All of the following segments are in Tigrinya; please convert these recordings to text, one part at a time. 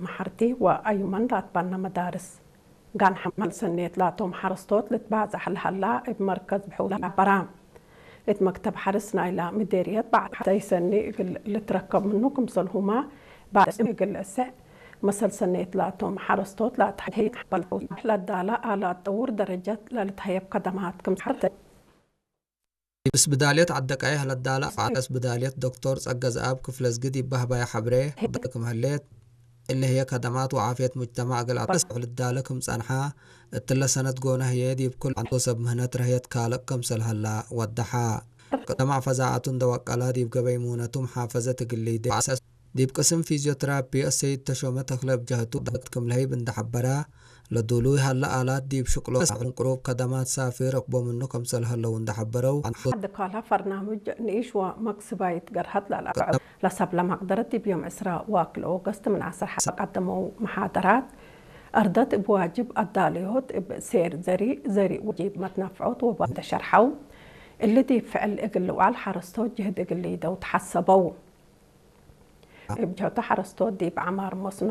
መሓርቲ ወኣዩመን ላትባና መዳርስ ጋን ሓማል ሰኔት ላቶም ሓረስቶት ልትባዛሕ ልሃላ እብ መርከዝ ብሕውላ በራ። እት መክተብ ሓርስ ናይላ ምዴርየት ባዕተይ ሰኒ እግል ልትረከብ ምኑ ክምሰልሁማ ባዕስ እግል እሰዕ መሰል ሰኔት ላቶም ሓረስቶት ላትሐይት ሓበልተው ለዳላ ኣላ ጥውር ደረጀት ለልትሀየብ ከደማት ክምሰልተ ብስብዳልየት ዓደቃይህ ለዳላ ፋዕለ ስብዳልየት ዶክተር ጸገዝኣብ ክፍለዝግድ ይባህባይ ሓብሬ ክምህሌት እለ ህየ ከደማት ወዓፍየት ሙጅተማዕ እግል ኣበስዑ ልዳለ ክም ጸንሓ እትለ ሰነት ጎነ ህየ ዲብ ኩል ዓንቶ ሰብ ምህነት ረህየት ካልእ ከምሰል ሀላ ወደሓ። ከደማዕ ፈዛዓቱ እንደወቀላ ዲብ ገበይ ሙነቱ መሓፈዘት እግል ሊዴ ዲብ ቅስም ፊዚዮትራፒ እሰይድ ተሾመ ተክለ ብጀህቱ ዳት ክም ለህይብ እንደሐበራ ለዱሉይ ሀለ ኣላት ዲብ ሽቅሎ ዕንቅሩብ ከደማት ሳፊ ረክቦ ምኑ ከምሰል ሀለው እንደሐበረው። ድካላ ፈርናምጅ ንኢሽ ወመክስባይት ገርሀት ላላ ለሰብ ለመቅደረት ዲብ ዮም ዕስራ ዋክል ኦገስት ምን ዓስር ሓ ቀደመው መሓደራት እርደት እብ ዋጅብ ኣዳልዮት እብ ሴር ዘሪ ዘሪ ወጂብ መትናፍዖት ወባ እንተሸርሐው እሊ ዲብ ፍዕል እግል ልውዓል ሓረስቶት ጅህድ እግል ሊደው ተሓሰበው። እብ ጀህቶ ሓረስቶት ዲብ ዓማር መስኖ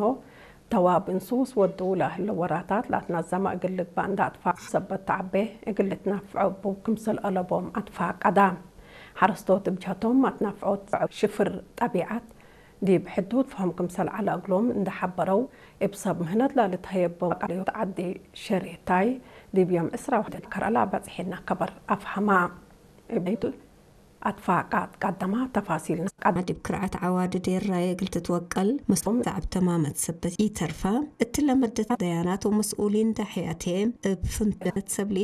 ተዋብ እንሱስ ወድው ለህለ ወራታት ላትናዘመ እግል ልግባእ እንዳ ኣጥፋ ሰበት ተዓቤ እግል ልትናፍዖ እቡ ክምሰል አለቦም ኣትፋቀዳ። ሓረስቶት እብ ጀህቶም ኣትናፍዖት ሽፍር ጠቢዓት ዲብ ሕዱድ ፈሆም ክምሰል ዐለ እግሎም እንደሓበረው እብ ሰብ ምህነት ላልትሀየቦም ቃልዮት ዓዲ ሸሪታይ ዲብ ዮም ዕስራ ወሕደ ከረላ በጽሒና ከበር ኣፍሃማ። እብ ኣትፋቃት ቀደማ ተፋሲልና ቀደማ ዲብ ክርዓት ዓዋዲ ዴራየ እግል ትትወቀል መስሎም ዛዕብ ተማመት ሰበት ኢተርፋ እትለ መደት ደያናት ወመስኡሊን ዳሕያቴ እብ ፍንተት ሰብሊ